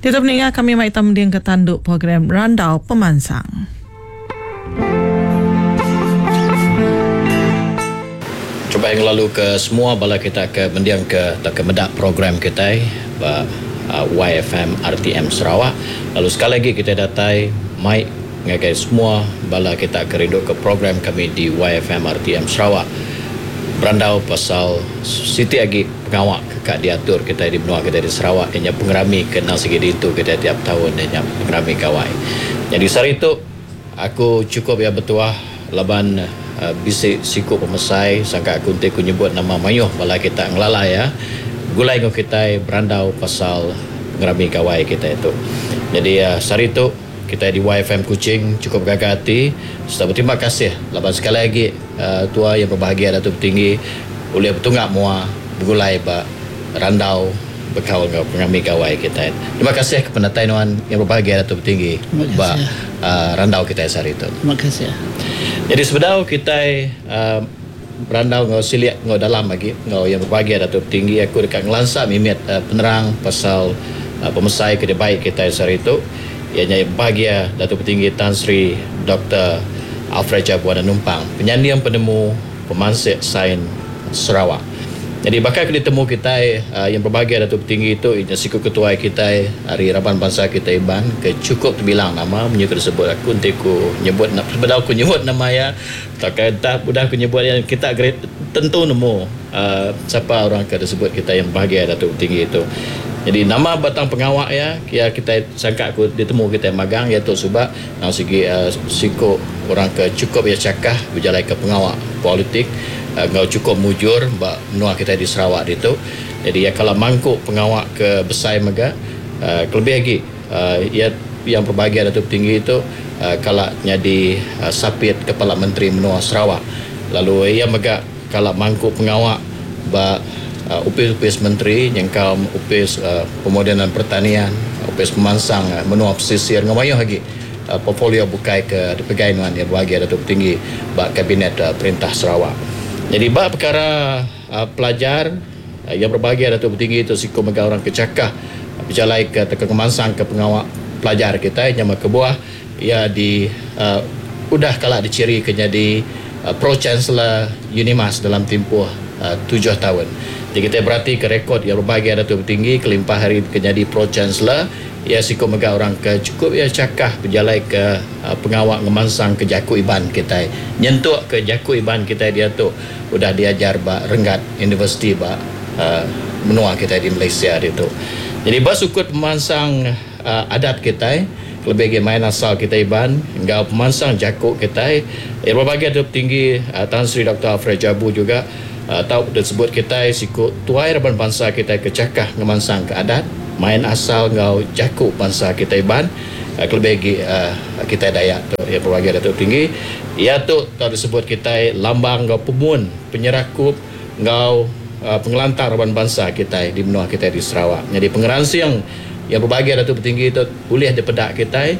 Diatu peninga kami mai ita mendingka tandu program Randau Pemansang. Terubah ngelalu ke semua bala kita ke mending ke tauka meda program kitai ba YFM RTM Sarawak lalu sekali agi kitai datai mai ngagai semua bala kita ke rindu ke program kami di YFM RTM Sarawak berandau pasal siti agi pengawa ke ka diatur kitai di menua kitai di Sarawak iya nya pengerami ke endang sigi diintu kitai tiap taun iya nya pengerami Gawai. Nyadi sehari tu Aku chukup iya betuah laban bisi siku pemesai sangka aku enti ku nyebut nama mayuh bala kita ngelala iya begulai enggau kitai berandau pasal pengerami gawai kitai tu. Nyadi sehari tu kitai di YFM Kuching chukup gaga ati sereta beterima kasih laban sekali agi tua iya bebahagia Datuk Petinggi ulih betunga mua begulai ba randau Bekaul enggau pengerami gawai kitai. Terima kasih ke penatai nuan yang berbahagia Datuk Petinggi ba randau kitai sehari tu. Terima kasih. Jadi sebedau kitai berandau enggau silik enggau dalam agi enggau yang berbahagia Datuk Petinggi aku deka ngelansa mimit penerang pasal pemesai ke dibai kitai sehari tu iya nya yang berbahagia Datuk Petinggi Tan Sri Doktor Alfred Jabuan Numpang penyanding penemu Pemansik Sains Sarawak. Nyadi baka ke ditemu kitai yang berbahagia Datuk Petinggi tu inya siku ketuai kitai ari raban bansa kitai Iban ke chukup tebilang nama munyi ke disebut aku enti ku nyebut sebedau ku nyebut nama iya tauka entah udah ku nyebut iya kita tentu nemu sapa orang ke disebut kitai yang berbahagia Datuk Petinggi tu. Nyadi nama batang pengawa iya iya kitai sangka ku ditemu kitai magang iya tu suba Nang sigi siku orang ke chukup iya chakah bejalaika pengawa politik enggau chukup mujur ba menua kitai di Sarawak ditu. Jadi iya kala mangku pengawa ke besai mega kelebih agi iya yang berbahagia Datuk Tinggi tu kala nyadi sapit Kepala Menteri menua Sarawak lalu iya mega kala mangku pengawa ba opis-opis menteri nyengkaum Opis Pemodenan Pertanian, Opis Pemansang Menua Pesisir enggau mayuh agi portfolio bukai ke dipegai nuan iya bebagi Datuk Tinggi ba Kabinet Perintah Sarawak. Nyadi ba pekara pelajar iya berbagi Datuk Tinggi tu siku mega orang ke chakah bejalaika tauka ngemansangka pengawa pelajar kitai nyema kebuah iya di udah kala dichirika nyadi Pro Chancellor Unimas dalam timpuh tujuh taun. Ti kitai beratika rekod iya bebahagia Datuk Petinggi kelimpah ari ke nyadi Pro Chancellor, iya siku mega orang ke chukup iya chakah bejalaika pengawa ngemansangka jaku Iban kitai nyentuk ke jaku Iban kitai diatu udah diajar ba renggat universiti ba menua kitai di Malaysia ditu. Nyadi ba sukut pemansang Adat kitai, kelebih agi main asal kitai Iban enggau pemansang jaku kitai. Iya berbagi adup tinggi Tan Sri Doktor Alfred Jabu juga tau disebut kitai siku tuai raban bansa kitai ke chakah ngemansangka adat, main asal enggau jaku bansa kitai Iban kelebih agi kitai Dayak tu. Iya berbagi adup tinggi. Iya tu tau disebut kitai lambang enggau pemun penyerakup enggau pengelantang raban bansa kitai di menua kitai di Sarawak. Nyadi pengeransing iya bebagi Datuk Petinggi tu ulih dipeda kitai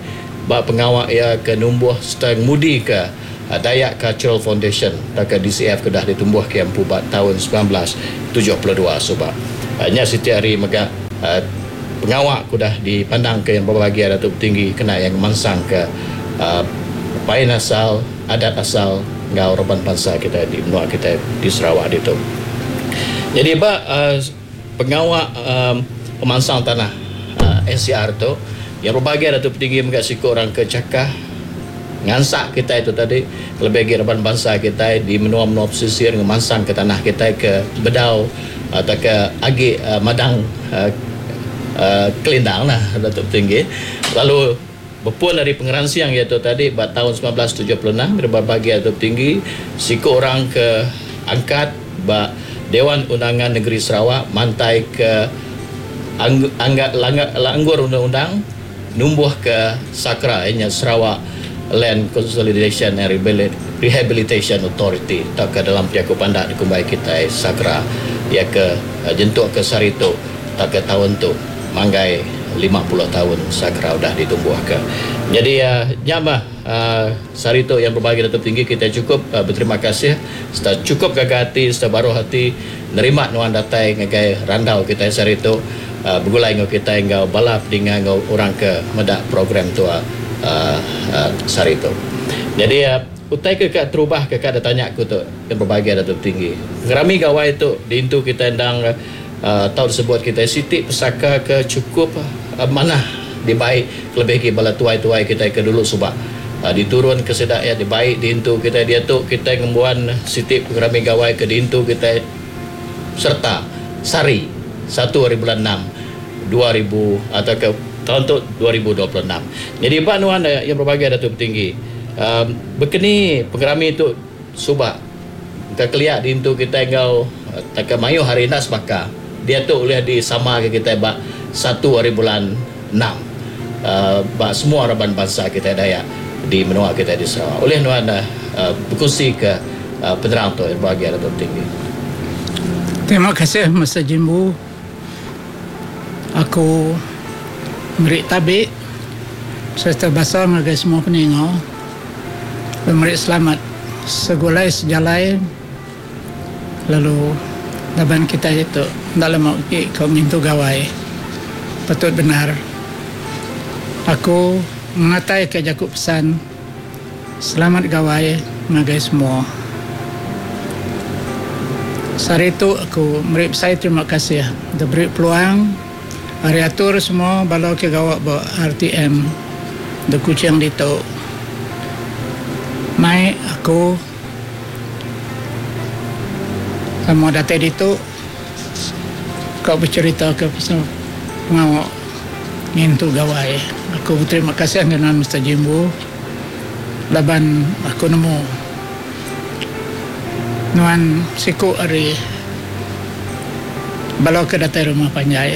ba pengawa iya ke numbuh sereta ngemudika Dayak Cultural Foundation tauka DCF ke udah ditumbuhka iya empu ba taun 1972 suba. Nya siti ari mega pengawa ke udah dipandangka iya bebagi Datuk Petinggi kena iya ngemansangka pain asal, adat asal enggau raban bansa kitai di menua kitai di Sarawak ditu. Nyadi ba pengawa pemansang tanah NCR tu, iya bebagai Datuk Petinggi mega siku orang ke chakah ngansak kitai tu tadi kelebih agi raban bansa kitai di menua-menua pesisir ngemansangka tanah kitai ke bedau tauka agi madang kelindang lah Datuk Petinggi lalu Bepun ari pengeransing iya tu tadi ba taun 1976 dariba bagi Atur Tinggi, siku orang ke angkat ba Dewan Undangan Negeri Sarawak mantai ke langgur undang-undang numbuhka SAKRA iya nya Sarawak Land Consolidation and Rehabilitation Authority tauka dalam jaku pandak dikumbai kitai SAKRA iya ke nyentuk ke sehari tu. Tauka taun tu manggai 50 taun Sakra udah ditumbuhka. Nyadi nya mah sehari tu yang berbagi Datuk Tinggi kitai chukup beterima kasih sereta chukup gaga ati sereta baruh ati. nerima nuan datai ngagai randau kitai sehari tu begulai enggau kitai enggau bala pedinga enggau orang ke meda program tu sehari tu. Nyadi utai ke ka terubah ke ka ditanya aku tu yang berbahagia Datuk Tinggi. Pengerami gawai tu diintu kitai endang tau disebut kitai siti pesaka ke chukup manah dibai kelebih agi bala tuai-tuai kitai ke dulu suba diturun ke sida iya dibai diintu kitai diatu kitai ngembuan siti pengerami gawai ke diintu kitai sereta sehari satu hari bulan enam 2000 atauka taun tu 2026. Nyadi ba nuan iya berbagai Datuk Petinggi uhh bekeni pengerami tu suba engka kelia diintu kitai enggau tauka mayuh hari enda sebaka diatu ulih disamaka kitai ba satu hari bulan enam uhh ba semua raban bansa kitai Dayak di menua kitai di Sarawak. Ulih nuan uhh bekunsika penerang tu berbagai Datuk Petinggi. Terima kasih Mister Jimbu. Aku meri tabi sereta basa ngagai semua peninga lalu meri selamat segulai sejalai lalu laban kitai tu enda lama agi ko ngintu gawai patut bendar aku ngenatai ka jaku pesan Selamat gawai ngagai semua. Sehari tu aku meri besai terima kasih deh beri peluang ari atur semua bala ke gawa ba RTM de Kuching ditu mai aku sama datai ditu ka becherita ke pasal pengawa ngintu gawai. Aku beterima kasih ngagai nuan Mister Jimbu. Laban aku nemu nuan siku ari bala ke datai rumah panjai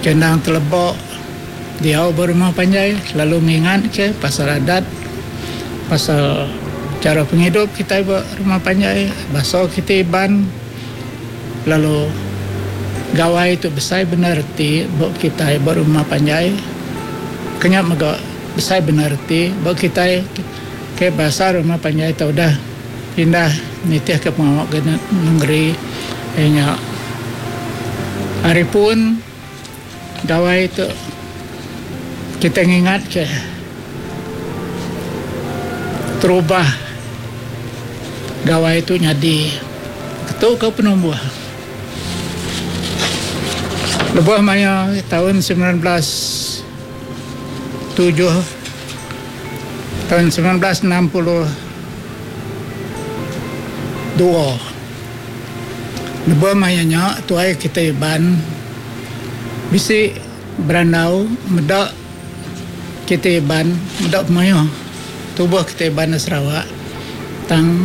ke endang teleba diau ba rumah panjai lalu ngingat ke pasal adat pasal chara pengidup kitai ba rumah panjai basa kitai Iban lalu gawai tu besai bendar reti ba kitai ba rumah panjai ke nya mega. Besai bendar reti ba kitai ke bansa rumah panjai tau udah pindah nitihka pengawa ke nengeri iya nya ari pun gawai tu kitai ngingatka terubah gawai tu nyadi tu ke penumbuh. Lebuh maya taun 19. Tujuh taun 1962. Lebuh maya nya tuai kitai Iban bisi berandau meda kitai Iban meda pemayuh tubuh kitai Iban da Sarawak tang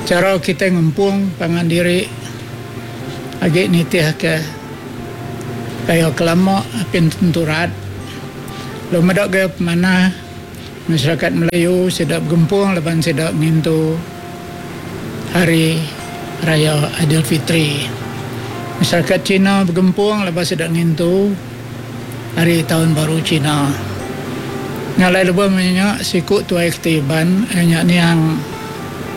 chara kitai ngempung pangan diri agi nitihka Gaya ke lama apin tentu rat. Lalu meda gaya pemanah masyarakat Melayu sida begempung laban sida ngintu Hari Raya Aidilfitri. Masyarakat Cina begempung laban sida ngintu Hari Taun Baru Cina. Nya alai lebuh maya nya siku tuai keti Iban iya nya niang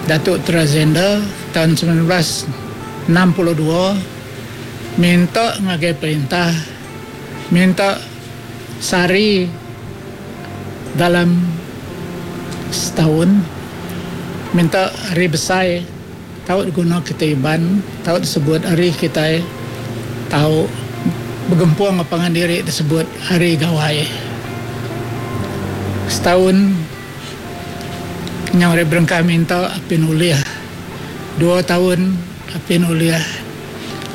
Datuk Trazender taun 1962, Minta ngagai perintah minta sehari dalam setaun minta hari besai tau diguna kitai Iban tau disebut hari kitai tau begempung enggau pangan diri disebut hari gawai. Setaun nyau ari berengkah minta apin ulih dua taun apin ulih.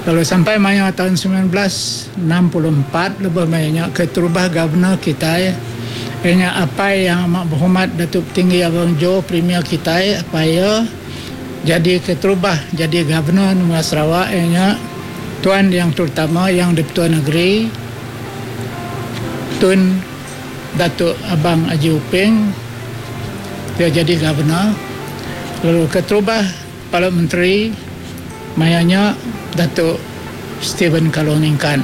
Lalu sampai maya taun 1964 lebuh maya nya keterubah Governor kitai iya nya apai Yang Amat Berhormat Datuk Petinggi Abang Jo Premier kitai apai iya jadi keterubah jadi Governor menua Sarawak iya nya Tuan Yang Terutama Yang Dipertua Negeri Tun Datuk Abang Haji Uping iya jadi Governor lalu keterubah Kepala Menteri maya nya Datuk Stephen Kalong Ningkan.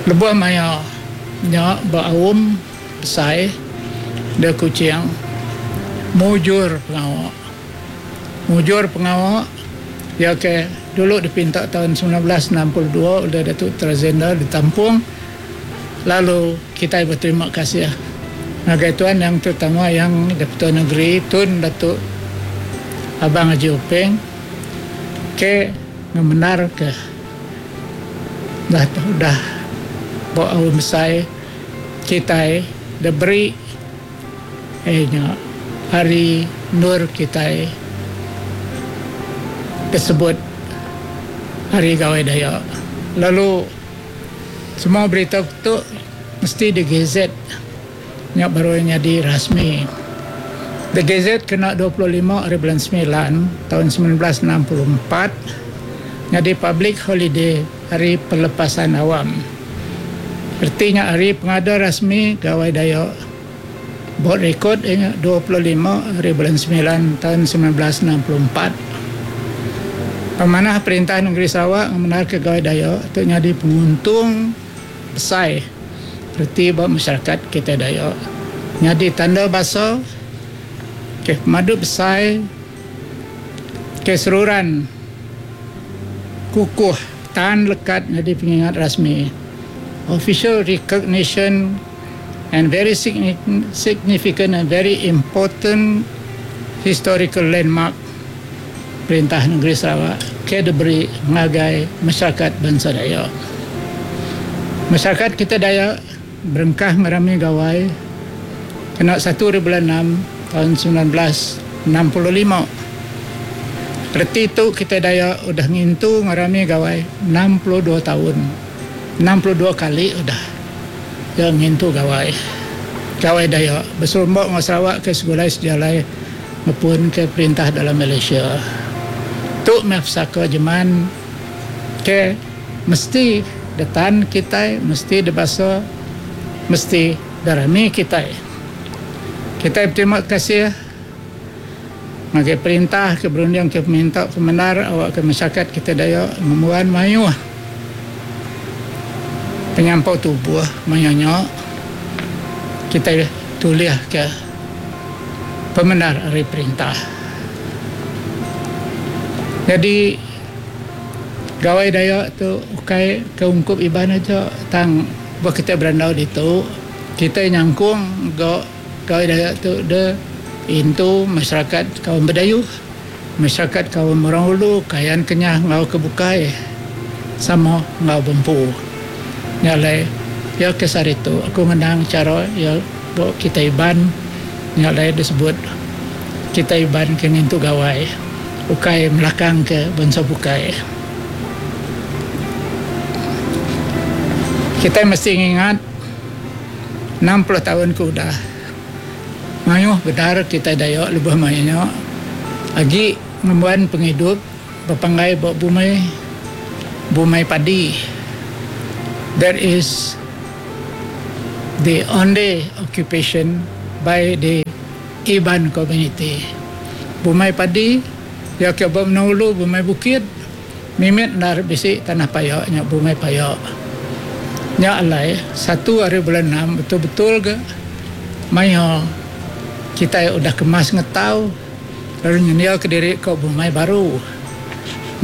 Lebuh maya nya ba aum besai di Kuching mujur pengawa. Mujur pengawa. Iya ke dulu dipinta taun 1962 ulih Datuk Trazenda ditampung lalu kitai beterima kasih ngagai Tuan Yang Terutama Yang Dipertua Negeri Tun Datuk Abang Haji Openg ke ngemendarka dah udah ba aum besai kitai diberi Iya nya hari endur kitai disebut Hari Gawai Dayak. Lalu semua berita tu mesti digazet nya baru iya nyadi rasmi. Digazet kena 25 hari bulan semilan taun 1964 nyadi public holiday Hari Pelepasan Awam. Reti nya hari pengada rasmi Gawai Dayak. Bot rekod iya nya 25 hari bulan semilan taun 1964. Pemanah Perintah Nengeri Sarawak ngemendarka Gawai Dayak tu nyadi penguntung besai reti ba masyarakat kitai Dayak. Nyadi tanda basa ke pemadu besai ke seruran kukuh tan lekat nyadi pengingat rasmi, official recognition and very significant and very important historical landmark Perintah Negeri Sarawak ke diberi ngagai masyarakat bansa Dayak. Masyarakat kita Dayak berengkah ngerami gawai kena satu ari bulan enam taun 1965. Reti tu kitai Dayak udah ngintu ngerami gawai 62 taun, 62 kali udah iya ngintu gawai. Gawai Dayak beserumba enggau Sarawak ke segulai sejalai ngepunka perintah dalam Malaysia. Tu meh pesaka jeman ke mesti detan kitai, mesti dibasa, mesti derami kitai. Kitai beterima kasih. Ngagai perintah ke berunding ke peminta pemendar awakka masyarakat kitai Dayak ngembuan mayuh penyampau tubuh maya nya kitai tulihka pemendar ari perintah. Nyadi Gawai Dayak tu ukai ke ungkup Iban aja tang ba kitai berandau ditu kitai nyangkung ga Gawai Dayak tu de intu masyarakat kaum Bidayuh, masyarakat kaum Orang Ulu, Kayan Kenyah enggau ke bukai sama enggau bempu. Nya alai iya ke sehari tu aku ngenang chara iya ba kitai Iban nya alai disebut kitai Iban ke ngintu gawai ukai melakang ke bansa bukai. Kitai mesti ngingat. 60 taun ke udah, mayuh bendar kitai Dayak lebuh maya nya agi ngembuan pengidup bepanggai ba bumai bumai padi. That is the only occupation by the Iban community. Bumai padi iya ke ba menua ulu bumai bukit. Mimit endar bisi tanah paya nya bumai paya. Nya alai satu ari bulan enam betul-betul ga maya kitai udah kemas ngetau lalu nyendia ke diri ka bumai baru.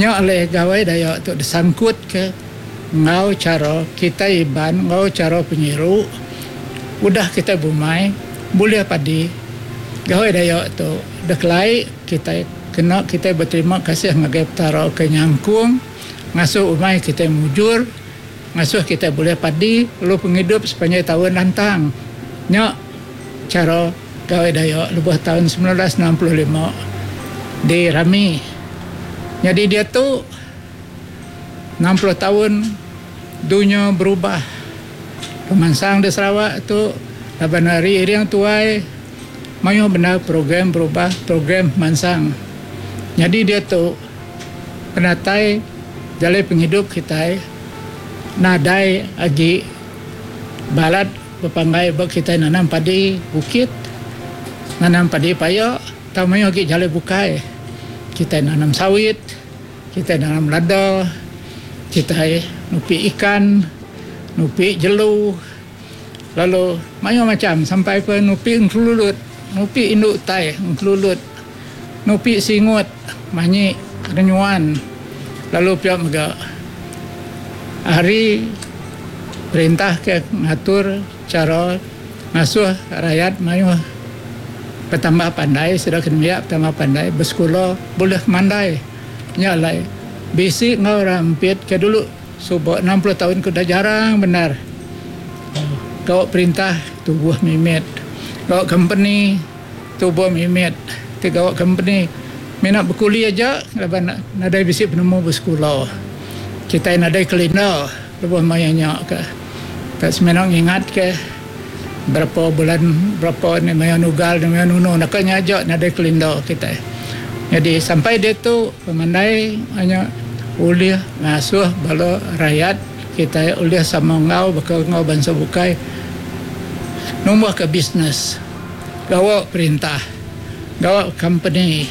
Nya alai Gawai Dayak tu disangkut ke enggau chara kitai Iban enggau chara penyiru udah kitai bumai bulih padi Gawai Dayak tu dekelai kitai. Kena kitai beterima kasih ngagai Petara ke nyangkung ngasuh umai kitai mujur, ngasuh kitai bulih padi lalu pengidup sepanjai taun lantang. Nya chara Gawai Dayak lebuh taun 1965 dirami. Nyadi diatu 60 taun dunya berubah. Pemansang di Sarawak tu laban ari iring tuai. Mayuh bendar program berubah program pemansang. Nyadi diatu penatai jalai pengidup kitai nadai agi balat bepanggai ba kitai nanam padi bukit, nanam padi paya tau mayuh agi jalai bukai. Kitai nanam sawit, kitai nanam lada, kitai nupi ikan, nupi jelu. Lalu mayuh macham sampai ke nupi engkelulut, nupi indu utai engkelulut, nupi singut manyi. Kena nyuan lalu pia mega ari perintah ke ngatur chara ngasuh rayat mayuh betambah pandai sida ke nembiak betambah pandai besekula bulih pemandai. Nya alai bisi enggau orang empit ke dulu suba 60 taun ke udah jarang bendar gawa perintah tubuh mimit gawa kompeni tubuh mimit ti gawa kompeni mina bekuli aja laban nadai bisi penemu besekula. Kitai nadai kelinda lebuh maya nya ka ka semina ngingat ka berapa bulan berapa ni maya nugal ni maya nunu naka nya aja nadai kelinda kitai. Nyadi sampai diatu pemandai nya ulih ngasuh bala rayat kitai ulih sama enggau baka enggau bansa bukai numbuhka bisnes gawa perintah gawa kompeni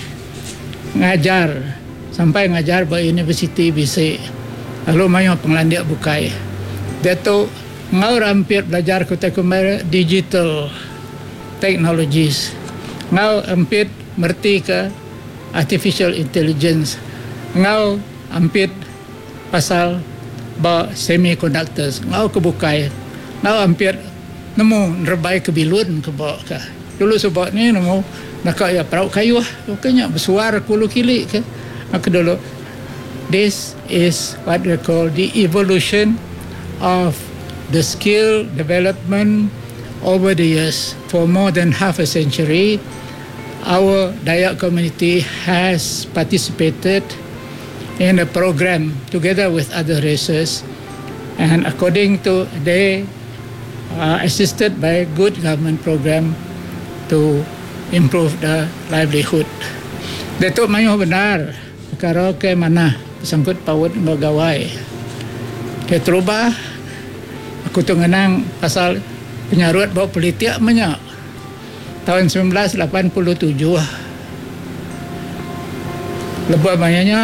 ngajar sampai ngajar ba universiti bisi lalu mayuh pengelandik bukai. Diatu enggau rampit belajar ke utai kumbai digital technologies enggau ampit meretika artificial intelligence enggau ampit pasal ba semiconductors enggau ke bukai enggau ampit nemu nerebai ke bilun ke ba ka. Dulu suba ni nemu naka iya perau kayuh ke nya besuar ke ulu kili ke ke dulu. This is what we call the evolution of the skill development over the years for more than half a century our Dayak community has participated in the program together with other races and according to they are assisted by good government program to improve the livelihood. Diatu mayuh bendar pekara ke manah besangkut paut enggau gawai. Keterubah aku tu ngenang pasal penyarut ba politik menya taun 1987. Lebuh maya nya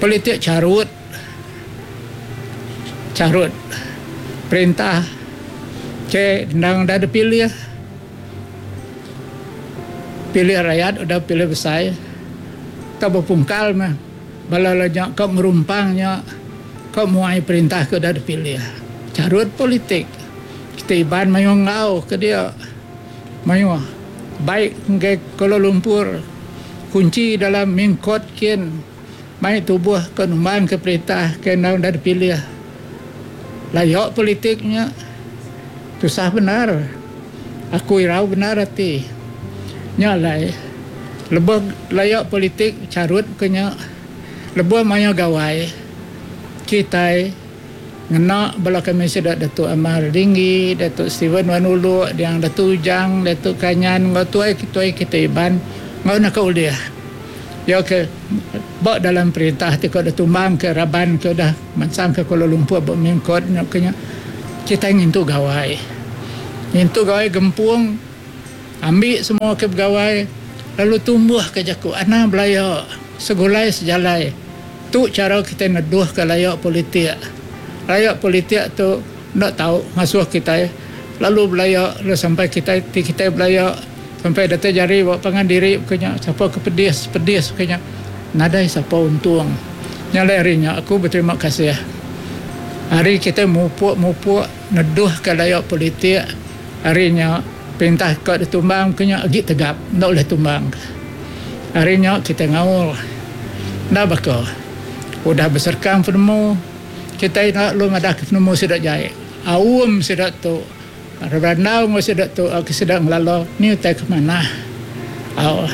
politik charut. Charut perintah ke endang udah dipilih, pilih rayat udah pilih besai tau bepungkal meh bala la nya ka ngerumpang nya ka muai perintah ke udah dipilih. Charut politik kitai Iban mayuh enggau ke dia mayuh baik ngagai Kuala Lumpur kunchi dalam Mingkot kin. Mai tubuh ke numbang ke perintah ke enda udah dipilih. Layak politik nya tusah bendar. Aku irau bendar ati. Nya alai lebuh layak politik charut ke nya lebuh maya gawai kitai ngena bala kami sida Datuk Amar Linggi, Datuk Stephen Wan Uluk, Diang Datu Ujang, Datuk Kanyan enggau tuai-tuai kitai Iban enggau naka ulih. Iya ke ba dalam perintah ti ka ditumbang ke raban ke udah mansang ke Kuala Lumpur ba Mingkot nya ke nya kitai ngintu gawai. Ngintu gawai gempung ambi semua ke begawai lalu tumbuh ke jaku anang belaya segulai sejalai. Tu chara kitai neduh ke laya politik. Laya politik tu enda tau ngasuh kitai lalu belaya lalu sampai kitai ti kitai belaya Sampai datai jari ba pangan diri baka nya, sapa ke pedis, pedis baka nya. Nadai sapa untung. Nya alai ari nya aku beterima kasih. Ari kitai mupuk-mupuk neduhka laya politik, ari nya perintah ka ditumbang baka nya agi tegap enda ulih tumbang. Ari nya kitai ngaul enda baka udah beserkang penemu kitai enda lalu madahka penemu sida jai. Aum sida tu. Berandau enggau sida tu ke sida ngelala ni utai ke manah. Au.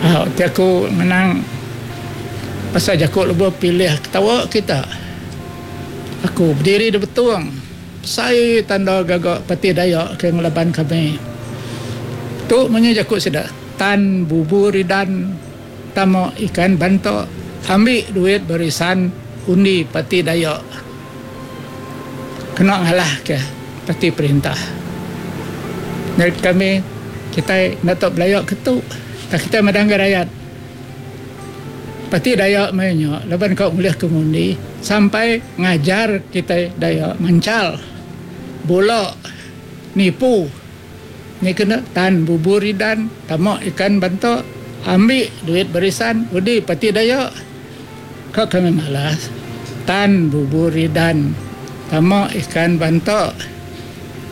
Au ti aku ngenang pasal jaku lebuh pilih ketawa kita. Aku bediri di Betong besai tanda gaga Parti Dayak ke ngelaban kami. Tu munyi jaku sida tan bubu ridan tama ikan bantok ambi duit barisan undi Parti Dayak. Kena ngalahka parti perintah. Nyadi kami kitai enda tau belaya ke tu tang kitai madah enggau rayat parti Dayak maya nya laban ka ngulihka ngundi sampai ngajar kitai Dayak manchal bula nipu. Ni kena tan bubur idan tama ikan banta. Ambi duit barisan udi parti Dayak. Ka kami malas, tan bubur ridan tama ikan banta.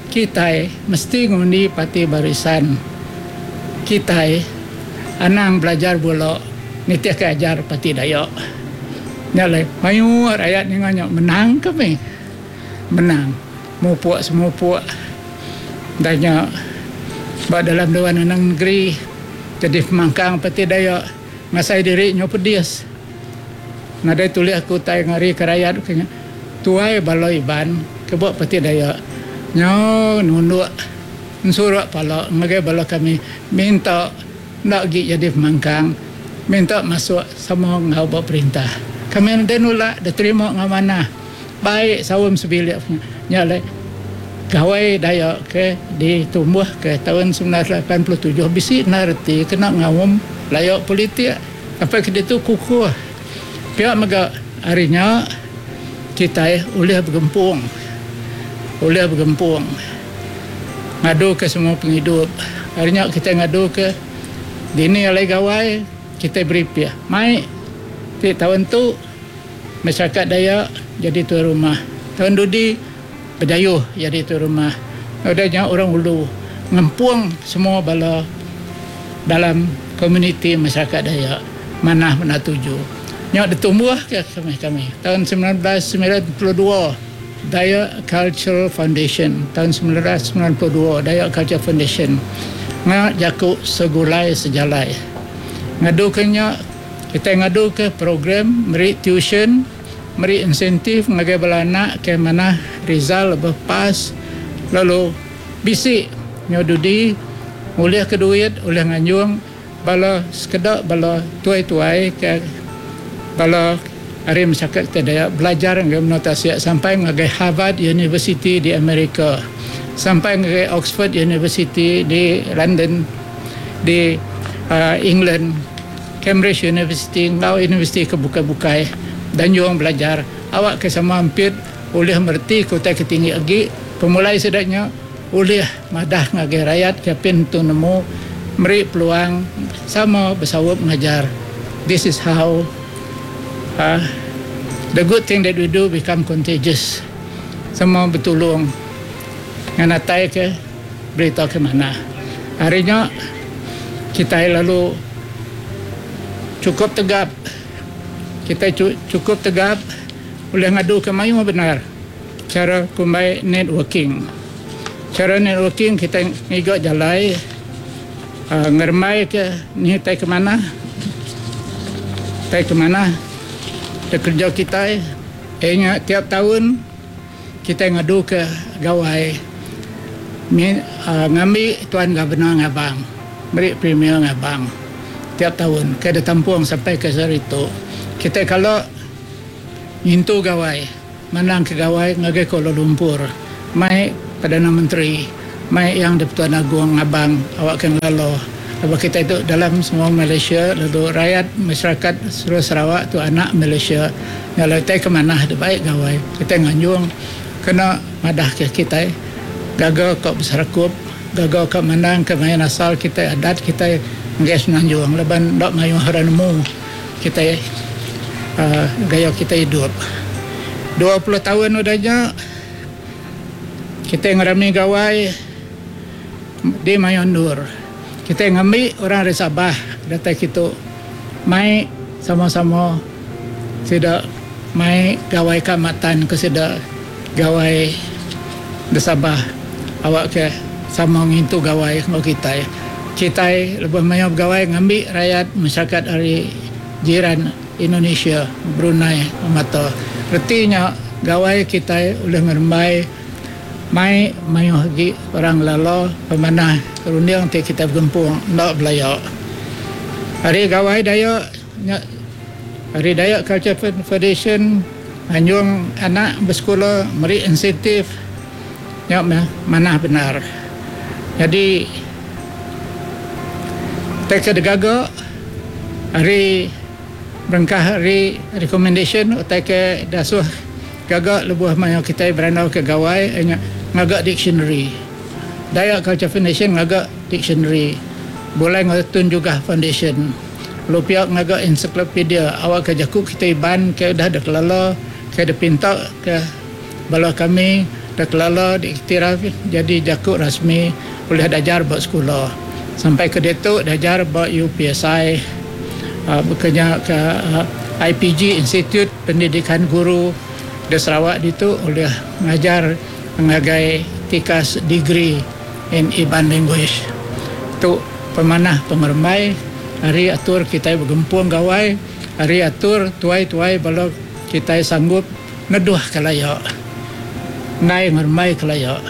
Kitai mesti ngundi parti barisan. Kitai anang belajar bula nitihka ajar parti Dayak. Nya alai mayuh rayat ninga nya menang kami. Menang. Mupuk semupuk udah nya ba dalam Dewan Undangan Negeri jadi pemangkang parti Dayak ngasai diri nyau pedis. Nadai tulih aku utai ngarika rayat ke nya. Tuai bala Iban ke ba Parti Dayak nyau nunduk ensuruk pala ngagai bala kami minta enda agi jadi pemangkang minta masuk sama enggau ba perintah. Kami nadai nulak diterima enggau manah baik saum sebilik punya. Nya alai Gawai Dayak ke ditumbuhka taun 1987 bisi enda reti kena ngaum laya politik. Apai ke ditu kukuh. Pia mega ari nya kitai ulih begempung. Ulih begempung ngaduka semua pengidup. Ari nya kitai ngaduka dini alai gawai kitai beripih. Mai ti taun tu masyarakat Dayak jadi tuai rumah. Taun dudi Bidayuh jadi tuai rumah. Udah nya orang ulu ngempung semua bala dalam komuniti masyarakat Dayak manah bendar tuju. Nya ditumbuhka kami kami taun 1992 Dayak Cultural Foundation taun 1992 Dayak Cultural Foundation ngena jaku segulai sejalai. Ngaduka nya kitai ngaduka program meri tuition. Meri insentif ngagai bala anak ke manah result lebuh pas lalu bisi nyau dudi ngulihka duit ulih nganjung bala sekeda bala tuai-tuai ke bala ari masyarakat kitai Dayak belajar ngagai menua tasik sampai ngagai Harvard University di Amerika sampai ngagai Oxford University di London di England. Cambridge University enggau universiti ke bukai-bukai danjung belajar awak ke sama ampit ulih mereti ke utai ke tinggi agi pemulai sida nya ulih madah ngagai rayat ke apin tentu nemu meri peluang sama besaup ngajar this is how uhh the good thing that we do become contagious sama betulung ngenatai ke berita ke manah. Ari nya kitai lalu chukup tegap kitai chukup tegap ulih ngaduka mayuh bendar chara kumbai networking. Chara networking kitai ngiga jalai uhh ngerembaika nih utai ke manah utai ke manah da kereja kitai iya nya tiap taun. Kitai ngaduka gawai ngambi Tuan Governor ngabang, meri Premier ngabang tiap taun ke ditampung sampai ke sehari tu. Kitai kala ngintu gawai, mandangka gawai ngagai Kuala Lumpur mai Perdana Menteri, mai Yang di-Pertuan Agong ngabang awakka ngelala laban kitai tu dalam semua Malaysia lalu rayat masyarakat seluruh Sarawak tu anak Malaysia. Nya alai utai ke manah tu baik gawai kitai nganjung kena madah ke kitai gaga ka beserakup gaga ka mandang ke main asal kitai adat kitai ngagai semenanjung laban enda mayuh orang nemu kitai uhh gaya kitai idup. 20 taun udah nya kitai ngerami gawai di mayuh endur kitai ngambi orang ari Sabah datai kitu mai sama-sama. Sida mai gawai Kaamatan ke sida gawai di Sabah awakka sama ngintu gawai enggau kitai. Kitai lebuh maya begawai ngambi rayat masyarakat ari jiran Indonesia, Brunei mata. Reti nya gawai kitai ulih ngerembai mai mayuh agi orang ngelala pemanah runding ti kitai begempung enda belaya. Ari gawai Dayak nya. Ari Dayak Culture Foundation nganjung anak besekula meri insentif nya meh manah bendar. Nyadi utai ke digaga ari berengkah ari recommendation utai ke diasuh gaga lebuh maya kitai berandau ke gawai iya nya ngaga dictionary. Dayak Culture Foundation ngaga dictionary. Begulai enggau Tun Jugah Foundation lalu pia ngaga ensiklopedia awakka jaku kitai Iban ke udah dikelala ke dipinta ke bala kami dikelala diiktiraf jadi jaku rasmi ulih diajar ba sekula. Sampai ke diatu diajar ba UPSI baka nya ke IPG Institut Pendidikan Guru di Sarawak ditu ulih ngajar ngagai tikas degree. In Iban language. Tu pemanah pengerembai ari atur kitai begempung gawai ari atur tuai-tuai bala kitai sanggup ngeduh ke laya enggai ngerembai ke laya.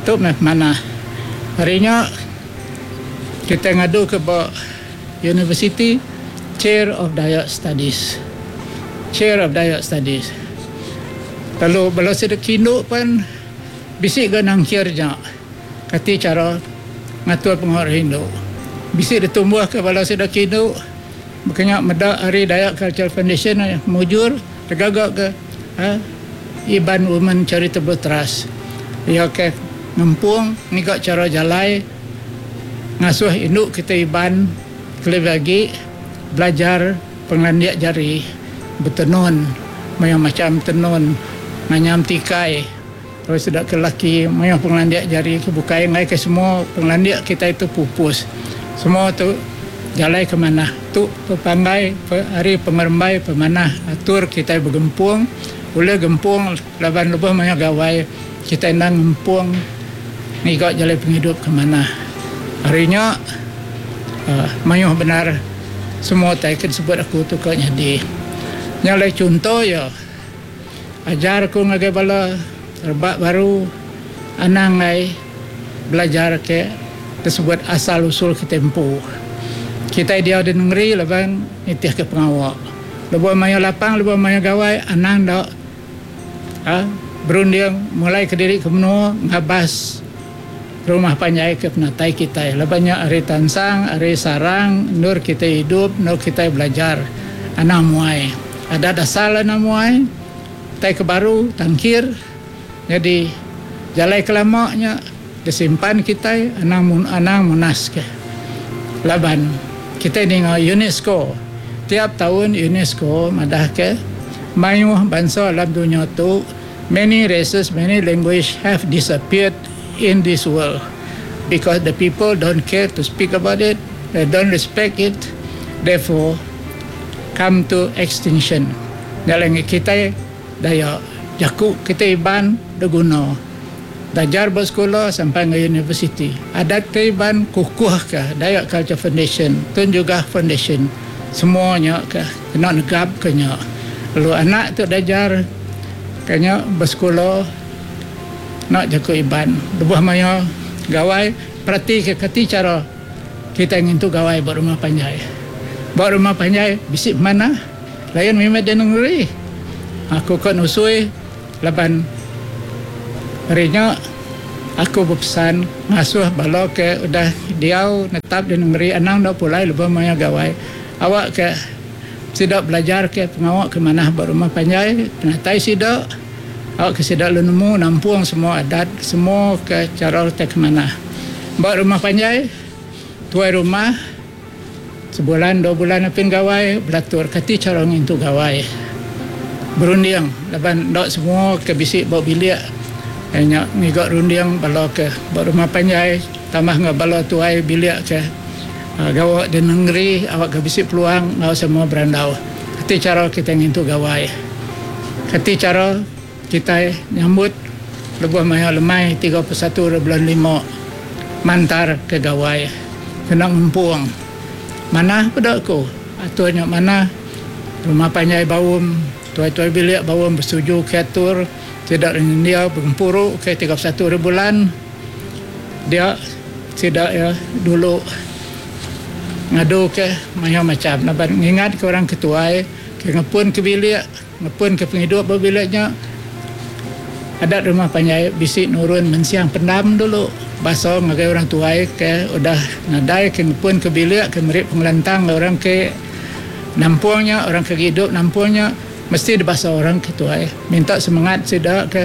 Tu meh pemanah. Ari nya kitai ngadu ke ba universiti Chair of Dayak Studies. Chair of Dayak Studies. Lalu bala sida kindu pen. Bisi ga nangkir nya kati chara ngatur pengawa rindu. Bisi ditumbuhka bala sida ke indu baka nya meda ari Dayak Cultural Foundation mujur digaga ke Iban Women Charitable Trust. Iya ke ngempung ngiga chara jalai ngasuh indu kitai Iban kelebih agi belajar pengelandik jari betenun mayuh macham tenun nganyam tikai. Lalu sida ke lelaki mayuh pengelandik jari ke bukai enggai ke semua pengelandik kitai tu pupus. Semua tu jalai ke manah. Tu pepanggai ari pengerembai pemanah atur kitai begempung ulih gempung laban lebuh mayuh gawai kitai endang ngempung ngiga jalai pengidup ke manah. Ari nya uhh mayuh bendar semua utai ke disebut aku tu ka nyadi. Nya alai chunto iya. Ajar ku ngagai bala rebak baru anang ai belajar ke disebut asal usul kitai empu. Kitai diau di nengeri laban nitihka pengawa. Lebuh mayuh lapang lebuh mayuh gawai anang enda uhh berunding mulai kediri ke menua ngabas rumah panjai ke penatai kitai laban nya ari tansang ari sarang endur kitai idup endur kitai belajar anang muai adat asal anang muai utai ke baru tangkir nyadi jalai ke lama nya disimpan kitai anang anang munas ke laban kitai ninga UNESCO tiap taun UNESCO madah ke mayuh bansa dalam dunya tu many races many language have disappeared. In this world because the people don't care to speak about it, they don't respect it, therefore come to extinction. Nya alai ngi kitai daya jaku kitai Iban deguna belajar ba sekula sampai enggau universiti. Adat kitai Iban kukuh ka Dayak Culture Foundation, Tun Jugah Foundation semua nya ka kena negap ka nya. Lalu anak tu diajar ka nya besekula. Enda jaku Iban. Lebuh maya gawai, peratika kati chara kitai ngintu gawai ba rumah panjai. Ba rumah panjai bisi pemanah lain mimit di nengeri. Aku ka nusui laban ari nya aku bepesan ngasuh bala ke udah diau netap di nengeri anang enda pulai lebuh maya gawai awakka sida belajarka pengawa ke manah ba rumah panjai penatai sida. Awakka sida lalu nemu nampung semua adat, semua ke chara utai ke manah. Ba rumah panjai, tuai rumah sebulan dua bulan apin gawai belatur kati chara ngintu gawai. Berunding laban enda semua ke bisi ba bilik iya nya ngiga runding bala ke ba rumah panjai tambah enggau bala tuai bilik ke gawa di nengeri awakka bisi peluang enggau semua berandau kati chara kitai ngintu gawai. Kati chara kitai nyambut lebuh maya lemai 31 ari bulan lima mantar ke gawai kena ngempung. Manah peda ku atur nya manah rumah panjai baum tuai-tuai bilik baum besetuju ke atur sida nyendia begempuru ke 31 ari bulan dia sida iya dulu ngadu ke mayuh macham laban ngingat ke orang ke tuai. Ke ngepun ke bilik, ngepun ke pengidup ba bilik nya, adat rumah panjai bisi nurun mensiang pendam dulu basa ngagai orang tuai ke udah nadai ke ngepun ke bilik ke meri pengelantang ngagai orang ke nampung nya, orang ke agi idup nampung nya mesti dibasa orang ke tuai minta semengat sida ke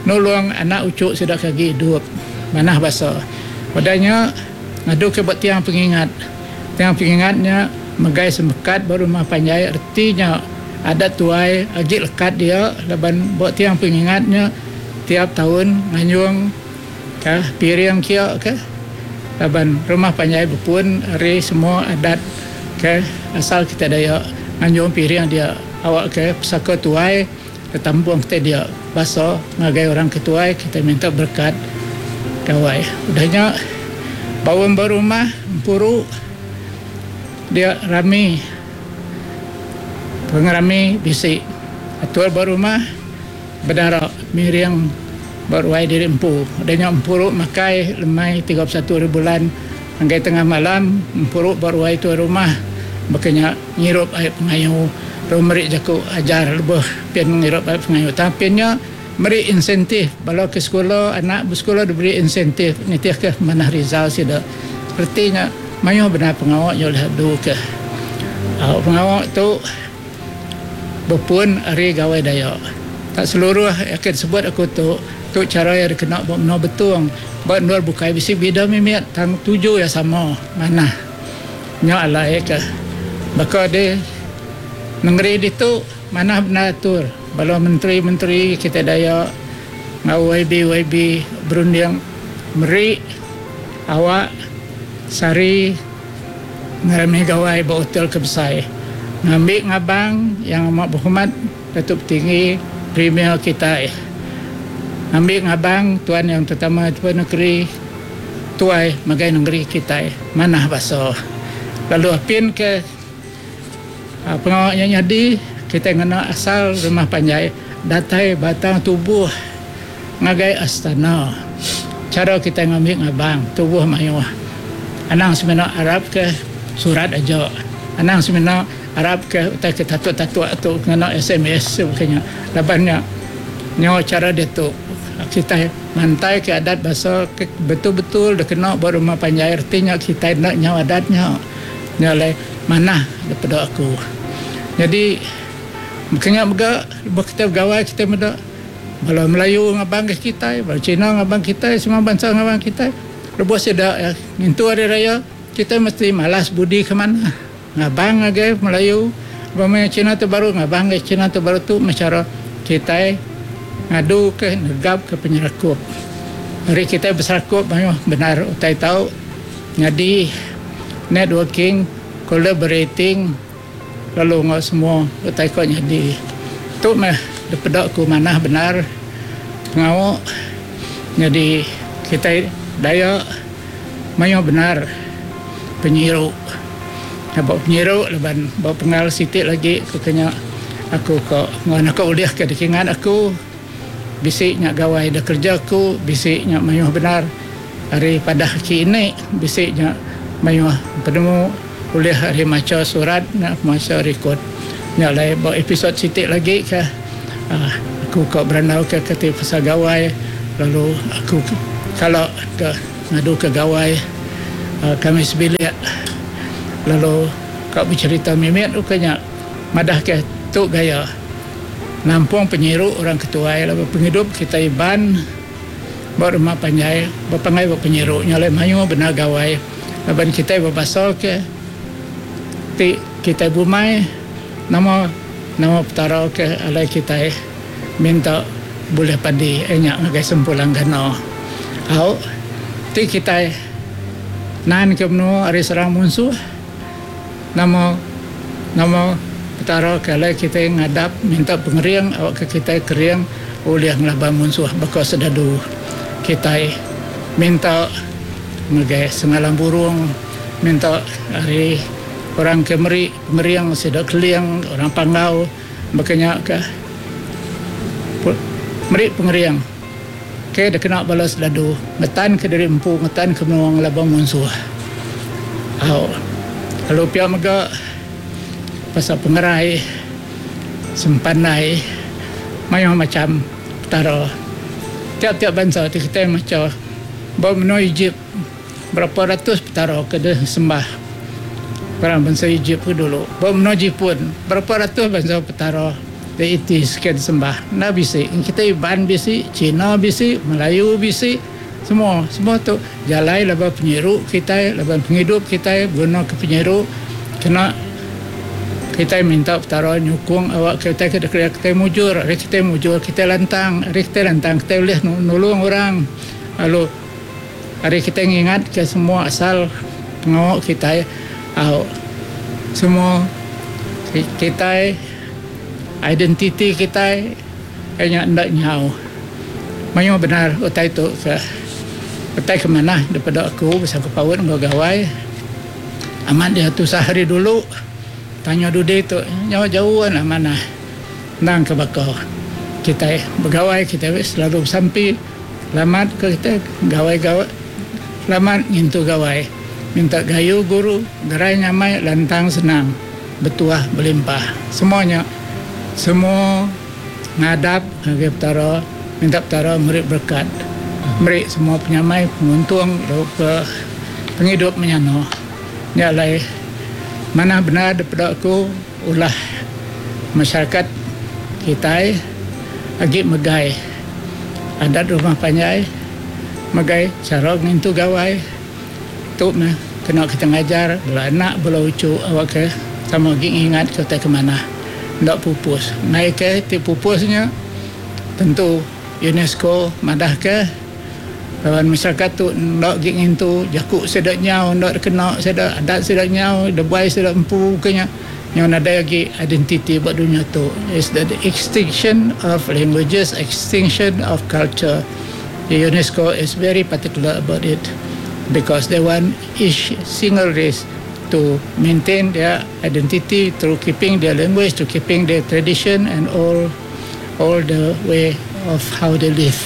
nulung anak uchu sida ke agi idup manah basa. Udah nya. Ngadu ke ba tiang pengingat. Tiang pengingat nya megai semekat ba rumah panjai reti nya adat tuai agi lekat dia laban ba tiang pengingat nya tiap taun nganjung ka piring kia ke laban rumah panjai bepun ari semua adat ke asal kitai Dayak nganjung piring dia awak ke pesaka tuai Tampung kitai dia basa ngagai orang ke tuai kitai minta berekat gawai. Udah nya baum ba rumah empuru dia rami pengerami bisi atur ba rumah bedara miring ba ruai diri empu. Udah nya empuru makai lemai 31 hari bulan ngagai tengah malam empuru ba ruai tuai rumah baka nya. Ngirup ai pengayu lalu meri jaku ajar lebuh pin ngirup ai pengayu. Tang pin nya meri insentif bala ke sekula anak besekula diberi insentif nitihka pemanah result sida. Reti nya mayuh bendar pengawa nya ulih adu ke pengawa tu bepun ari Gawai Dayak. Tak seluruh ke disebut aku tu, tu chara iya dikena ba menua Betong. Ba endur bukai bisi bida mimit tang tuju iya sama manah. Nya alai ke baka di nengeri ditu manah bendar atur bala menteri-menteri kitai Dayak enggau YB-YB berunding meri awak sehari ngerami gawai ba hotel ke besai ngambi ngabang Yang Amat Berhormat Datuk Patinggi Premier kitai ngambi ngabang Tuan Yang Terutama Tuan Negeri Tuai megai nengeri kitai manah basa. Lalu apin ke pengawa nya nyadi, kitai ngena asal rumah panjai datai batang tubuh ngagai astana. Chara kitai ngambi ngabang tubuh mayuh. Anang semina arap ke surat aja. Anang semina arap ke utai ke tatuk-tatuk tu ngena sms baka nya. Laban nya nyau chara diatu kitai. Mantai ke adat basa ke betul-betul dikena ba rumah panjai reti nya kitai enda nyau adat nya. Nya alai manah daripada aku. Nyadi baka nya mega lebuh kitai begawai kitai meda bala Melayu ngabang ke kitai, bala Cina ngabang kitai, semua bansa ngabang kitai. Lebuh sida iya ngintu hari raya kitai mesti malas budi ke manah. Ngabang ngagai Melayu ba maya Cina tu baru ngabang ngagai Cina tu baru tu meh chara kitai ngadu ke negap ke penyerakup. Ari kitai beserakup mayuh bendar utai tau nyadi networking, collaborating lalu enggau semua utai ko nyadi. Tu meh dipeda ku manah bendar pengawa nyadi kitai Dayak mayuh bendar penyiru. Ba penyiru laban ba pengal siti lagi ku ke nya aku ko enggau naka ulih ke dikingat aku bisi nya gawai da kerja aku bisi nya mayuh bendar ari padah aki ini bisi nya mayuh penemu ulih ari macha surat nya macha rekod. Nya alai ba episode siti lagi ka uhh aku ka berandau ka ti pasal gawai lalu aku kala ka ngadu ka gawai uhh kami sebilik lalu ka becherita mimit ukai nya madah ka tu gaya nampung penyiru orang ke tuai laban pengidup kitai Iban ba rumah panjai bepanggai ba penyiru nya alai mayuh bendar gawai laban kitai bebasa ke ti kitai bumai nama nama petara ke alai kitai minta bulih padi iya nya ngagai Sempulang Gana. Au ti kitai nan ke menua ari serang munsuh nama nama petara ke alai kitai ngadap minta pengering awakka kitai kering ulih ngelaban munsuh baka sedadu kitai minta ngagai Sengalang Burung minta ari orang ke meri pengering sida Keling orang Panggau baka nya ka meri pengering ke dikena bala sedadu ngetan ke diri empu ngetan ke menua ngelaban munsuh. Au lalu pia mega pasal pengerai sempandai mayuh macham petara tiap-tiap bansa ti kitai macha ba menua Egypt. Berapa ratus petara ke deh sembah orang bansa Ejip ke dulu. Ba menua Jipun, berapa ratus bansa petara deities ke disembah. Enda bisi. Kitai Iban bisi, Cina bisi, Melayu bisi. Semua semua tu jalai laban penyiru kitai laban pengidup kitai beguna ke penyiru kena kitai minta Petara nyukung awak kitai ke dikereja kitai mujur ari kitai mujur kitai lantang ari kitai lantang kitai ulih nulung orang lalu ari kitai ngingat ke semua asal pengawa kitai au semua kitai identiti kitai iya nya enda nyau. Mayuh bendar utai tu ke utai ke manah daripada aku besangkut paut enggau gawai. Amat dia tusah hari dulu tanya dudi tu nyau jauh enda manah endang ke baka kitai begawai kitai selalu besampi selamat ke kitai gawai gawai selamat ngintu gawai minta gayu guru gerai nyamai lantang senang betuah belimpah semua nya semua. Ngadap ngagai Petara, minta Petara meri berekat, meri semua penyamai, penguntung tauka pengidup menyana. Nya alai manah bendar dipeda aku ulah masyarakat kitai agi megai adat rumah panjai, megai chara ngintu gawai. Tu meh kena kita ngajar bala anak bala uchu awakka sama agi ngingatka utai ke manah enda pupus. Enggai ke ti pupus nya tentu UNESCO madahka laban masyarakat tu enda agi ngintu jaku sida nyau enda dikena sida adat sida nyau debai sida empu ke nya nyau nadai agi identiti ba dunya tu. Is the extinction of languages, extinction of culture. The UNESCO is very particular about it because they want each single race to maintain their identity through keeping their language, to keeping their tradition and all all the way of how they live.